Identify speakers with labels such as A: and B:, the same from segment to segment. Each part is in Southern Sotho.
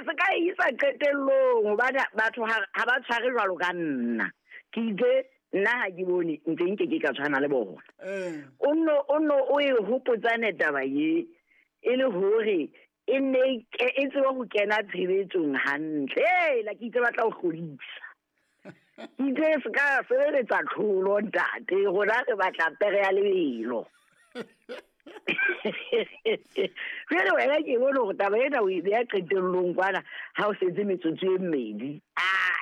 A: se ka e isa qetellong hobane batho ha ba tshware jwalo ka nna. Ke itse nna ha ke bone ntse nke ke ka tshwana le bona. O nno o e hopotsane taba ye e le hore e nne e tsebe ho kena tshebetsong hantle. La ke itse batla ho hlodisa. Ke itse se ka sebeletsa tlholo ntate, rona re batla pere ya lebelo. Jwale wena ke bone hore taba ena o e beha qetellong kwana ha o setse metsotso e mmedi.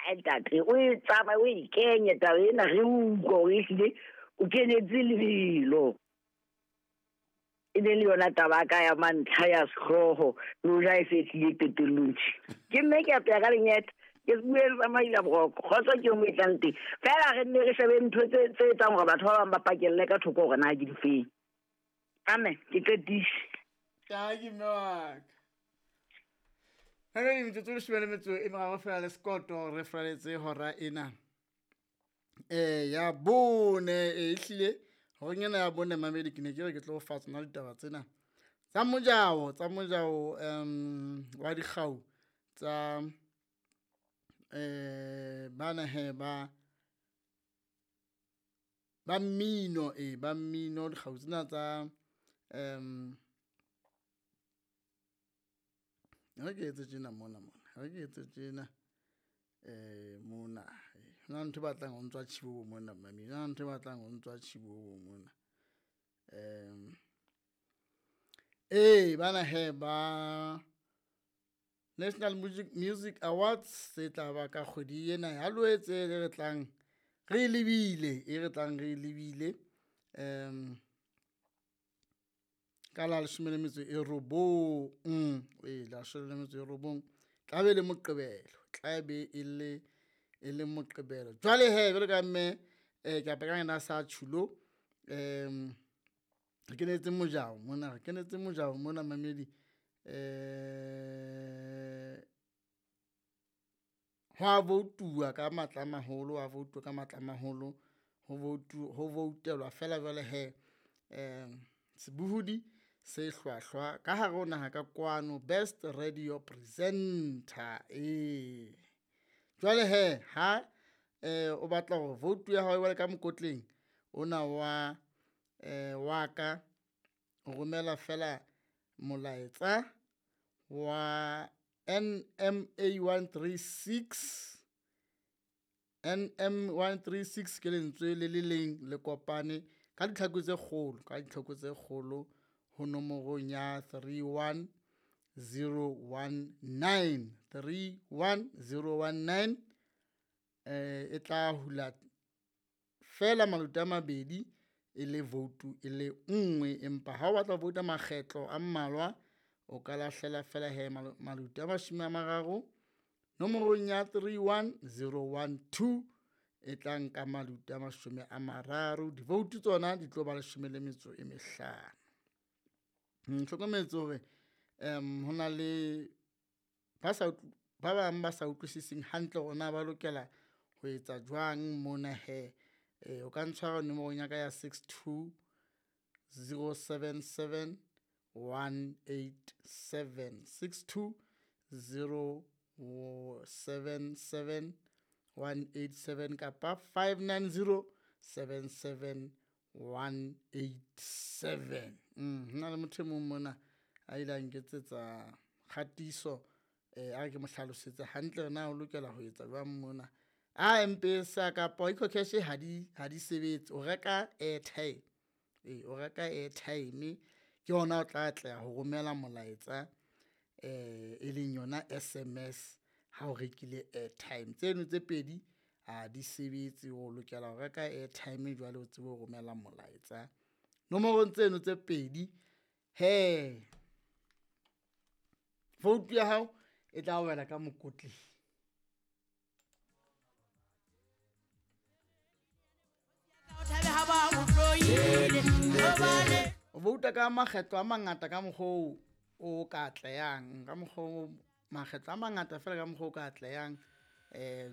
A: Ntate, o e tsamaye o e kenye taba ena re utlwe hore ehlile o kenetse lebelo. E ne le yona taba ka ya mantlha ya sehlooho le hoja e se tlile qetellong tje. Ke mme ke apeya ka lenyeta, ke bue le tsamaila boroko, kgotso ke mo e tlang teng. Feela re nne re shebe ntho tse etsang hore batho ba bang ba pakelle ka thoko hore na ke difeng. Amen, ke qetise.
B: Ke mme wa ka. Ha re metsotso e leshome le metso e meraro feela le sekoto re furaletse hora ena. Ya bone, ehlile horeng ena ya bone mamedi ke ne ke re ke tlo fa tsona ditaba tsena tsa mojao, wa dikgau tsa bana he ba mmino, ba mmino dikgau tsena tsa re ke etse tjena mona mona, re ke etse tjena mona. Hona ntho e batlang ho ntswa tjhibobo mona mamedi, hona ntho e batlang ho ntswa tjhibobo mona. Bana he ba National Music Awards tse tla ba ka kgwedi ena ya Loetse e re tlang re e lebile, e re tlang re e lebile ka la leshome le metso e robong, la leshome le metso e robong tla be le Moqebelo, tla be e le Moqebelo. Jwale he jwalo ka mme ke apara ka yena sa tjhulo, re kenetse mojao mona, re kenetse mojao mona mamedi. Hwa voutuwa ka matla a maholo, hwa voutuwa ka matla a maholo, ho voutelwa feela jwale he sebohodi se hlwahlwa ka hare ho naha ka kwano, best radio presenter. Jwale he ha o batla hore vote ya hao e wele ka mokotleng ona wa wa ka, o romela feela molaetsa wa NMA 136, NM 136 ke lentswe le le leng le kopane ka ditlhako tse kgolo, ka ditlhako tse kgolo ho nomorong ya 31019, 31019. E tla hula feela maluti a mabedi e le vote e le nngwe, empa ha o batla ho vouta makgetlo a mmalwa o ka lahlela feela he maluti a mashome a mararo nomorong ya 31012 e tla nka maluti a mashome a mararo. Divoutu tsona di tlo ba leshome le metso e mehlano. Hlokometse hore ho na le ba bang ba sa utlwisiseng hantle hore na ba lokela ho etsa jwang mona he. O ka ntshwara nomorong ya ka ya 62077 187, 62077 187 kapa 59077 187. Hona le motho e mong mona a ile a nketsetsa kgatiso, a re ke mo hlalosetse hantle na o lokela ho etsa jwang mona. A M-Pesa kapa EcoCash ha di sebetse, o reka airtime. O reka airtime ke yona o tla atleha ho romela molaetsa e leng yona SMS ha o rekile airtime. Tseno tse pedi ha di sebetse, o lokela ho reka airtime jwale o tsebe ho romela molaetsa nomorong tseno tse pedi. He vote ya hao e tla wela ka mokotleng. O vouta ka makgetlo a mangata ka mokgwa o ka atlehang, ka mokgwa makgetlo a mangata feela ka mokgwa o ka atlehang,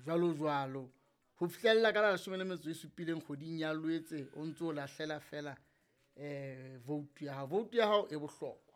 B: jwalo jwalo ho fihlella ka la leshome le metso e supileng kgweding ya Loetse o ntso o lahlela feela vote ya hao. Vote ya hao e bohlokwa.